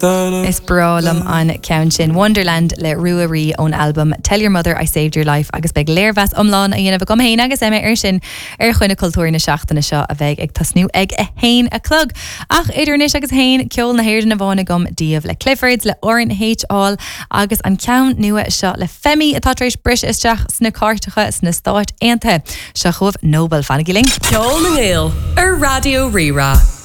Is breá liom an ceann sin, Wonderland le Ruaidhrí ón albam Tell Your Mother I Saved Your Life agus beidh léirmheas iomlán á dhéanamh agam féin agus Emma air sin ar Choinne Cultúir na seachtaine seo a bheidh ag tosnú ag 1 a chlog. Ach idir anois agus a haon, ceol na hÉireann amháin agam daoibh le Cliffords, le RNH Hall agus an ceann nua seo le Femi atá tar éis briseadh isteach sna cairteacha sna Stáit Aontaithe. Seo chugaibh Noble. Fanaigí linn. Ceol na nGael ar Raidió Rí-Rá.